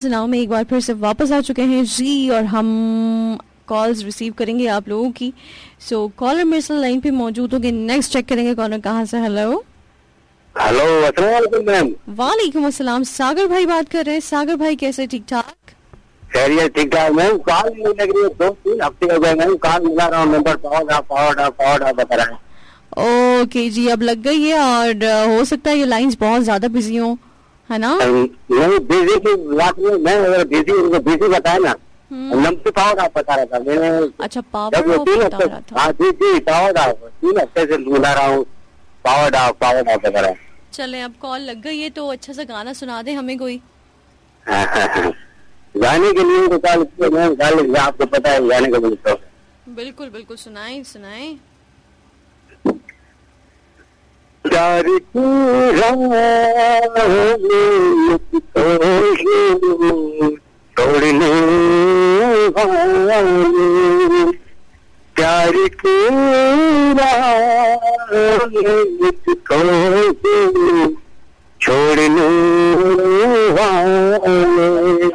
सुनाओ में एक बार फिर से वापस आ चुके हैं जी और हम कॉल्स रिसीव करेंगे आप लोगों की। सो कॉलर मेरे साथ लाइन पे मौजूद होंगे। नेक्स्ट चेक करेंगे कॉलर कहाँ से। हेलो हेलो, अस्सलाम वालेकुम मैम। वालेकुम अस्सलाम। सागर भाई बात कर रहे हैं। सागर भाई कैसे? ठीक ठाक? खैरियत, ठीक ठाक मैम। कॉल नहीं लग रही है, 2-3 हफ्ते हो गए मैम, कॉल मिला रहा हूँ, नंबर पावर ऑफ बता रहा है। ओके जी, अब लग गई है और हो सकता है ये लाइंस बहुत ज्यादा बिजी हो, है ना? नहीं, बिजी की बात नहीं मैं अगर बिजी उनको बिजी बताया ना, नंबर पावर ऑफ बता रहा था मैंने। अच्छा, पावर ऑफ बता रहा था। हाँ जी जी, पावर ऑफ 3 हफ्ते से मिला रहा हूँ, पावर ऑफ बता रहा है। चले, अब कॉल लग गई है तो अच्छा सा गाना सुना दे हमें कोई। गाने के लिए तो कॉल मैम, आपको पता है गाने के लिए तो बिल्कुल बिल्कुल सुनाए सुनाए। प्यार की राह मुझको छोड़ने वाले, प्यार की राह मुझको छोड़ने वाले,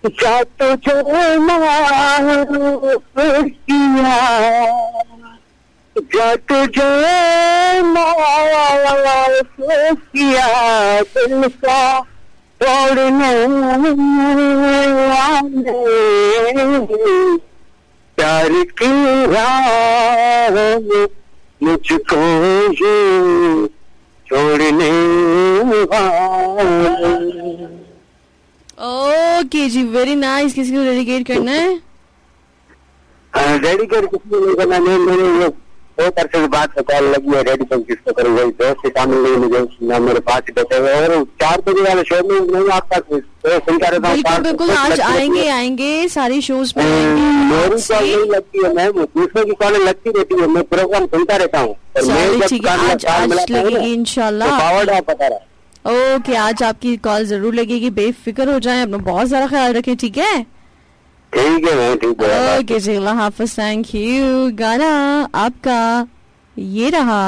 जा तुझे माफ किया, जा तुझे माफ किया, दिल का तोड़ने वाले, प्यार की राह मुझको ये छोड़ने वाले। ओके जी, वेरी नाइस। किसी को डेडिकेट करना है? डेडिकेट किसी को नहीं करना, नहीं मैंने बहुत अरसे के बाद कॉल लगी है। डेडिकेट किसको करूँ, वही दोस्त शामिल नहीं, मुझे ना मेरे पास बैठे हुए और 4 बजे वाले शो में नहीं आपका सुनता रहता हूँ। बिल्कुल बिल्कुल, आज आएंगे आएंगे सारे शोज में आएंगे। मेरी कॉल नहीं लगती है मैम, दूसरों की कॉल लगती रहती है, मैं प्रोग्राम सुनता रहता हूँ। आज लगेगी इंशाल्लाह। पावर ऑफ बता रहा है। ओके, आज आपकी कॉल जरूर लगेगी, बेफिक्र हो जाए, अपना बहुत सारा ख्याल रखें, ठीक है? ठीक है मैम, ठीक है। ओके जी, अल्लाह हाफिज़, thank you. गाना आपका ये रहा।